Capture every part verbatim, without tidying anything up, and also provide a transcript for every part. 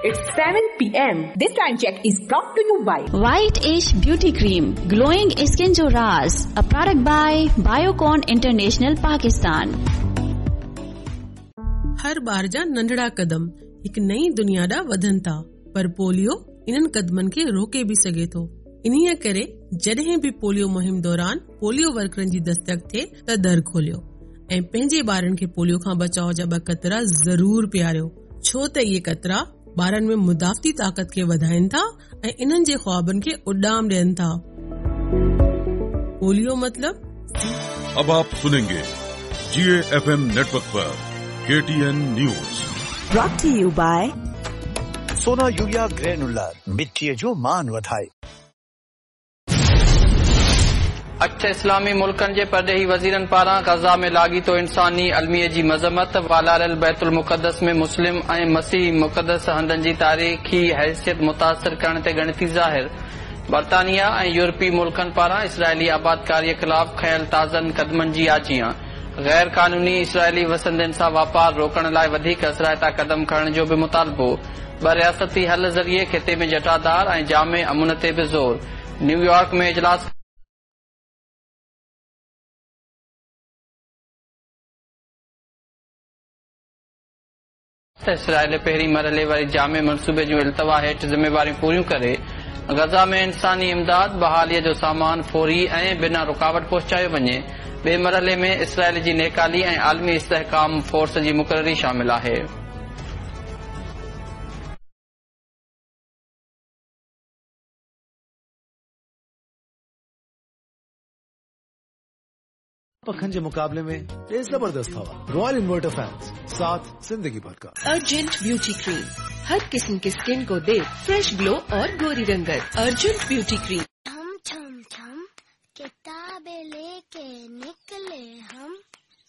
It's seven p m. This time check is brought to you by White Ish Beauty Cream, glowing skin जो राज, a product by Biocon International Pakistan. हर ॿार जा नंढड़ा कदम हिकु नई दुनिया ॾांहुं वधनि था, पर पोलियो इन्हनि कदमनि खे रोके बि सघे थो। इन्हीअ करे जॾहिं बि पोलियो मुहिम दौरान पोलियो वर्करनि जी दस्तक थिए त दर खोलियो ऐं पंहिंजे ॿारनि खे पोलियो खां बचाव जा ॿ कतरा ज़रूर पीआरियो, छो त इहे कतरा ॿारनि में मुदाफ़ती ताक़त खे वधाइनि था ऐं इन्हनि जे ख़्वाबनि खे उॾाम ॾियनि था। पोलियो मतलब। अब आप सुनेंगे जी एफ एम नेटवर्क पर K T N news. Brought to you by Sona urea granular, मिट्टीअ जो मान वधाए। अठ इस्लामी मुल्कनि जे परॾेही वज़ीरनि पारां गज़ा में लागीतो इंसानी अलमिए जी मज़म्मत। वालारियल बैतुल मुक़द्दस में मुस्लिम ऐं मसीह मुक़द्दस हंधनि जी तारीख़ी हैसियत मुतासिर करण ते ॻणती ज़ाहिर। बर्तानिया ऐं यूरोपी मुल्कनि पारां इसराइली आबादकारीअ ख़िलाफ़ खयल ताज़नि क़दमनि जी आजीयां। गैर कानूनी इसराइली वसंदनि सां वापार रोकण लाइ वधीक असराइता क़दम खणण जो बि मुतालबो। ॿ रियासती हल ज़रिए ख़िते में जटादार ऐं जामे अमुन ते बि ज़ोर। न्यूयॉर्क में इजलास इसराइल पहिरीं मरहले वारी जामे मनसूबे जूं इल्तवा हेठि ज़िम्मेवारियूं पूरियूं करे गज़ा में इंसानी इमदाद बहालीअ जो सामान फौरी ऐं बिना रुकावट पहुचायो वञे। ॿिए मरहले में इसराइल जी नेकाली ऐं आलमी इस्तेहकाम फोर्स जी मुक़ररी शामिल आहे। पखन के मुकाबले में ये जबरदस्त हवा। रॉयल इन्वर्टर फैंस साथ जिंदगी भर का। अर्जेंट ब्यूटी क्रीम हर किस्म के स्किन को दे फ्रेश ग्लो और गोरी रंगत। Urgent beauty cream. छम छम छम किताबें लेके निकले हम,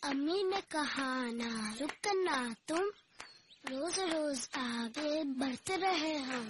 अम्मी ने कहा ना रुकना तुम, रोज रोज आगे बढ़ते रहे हम।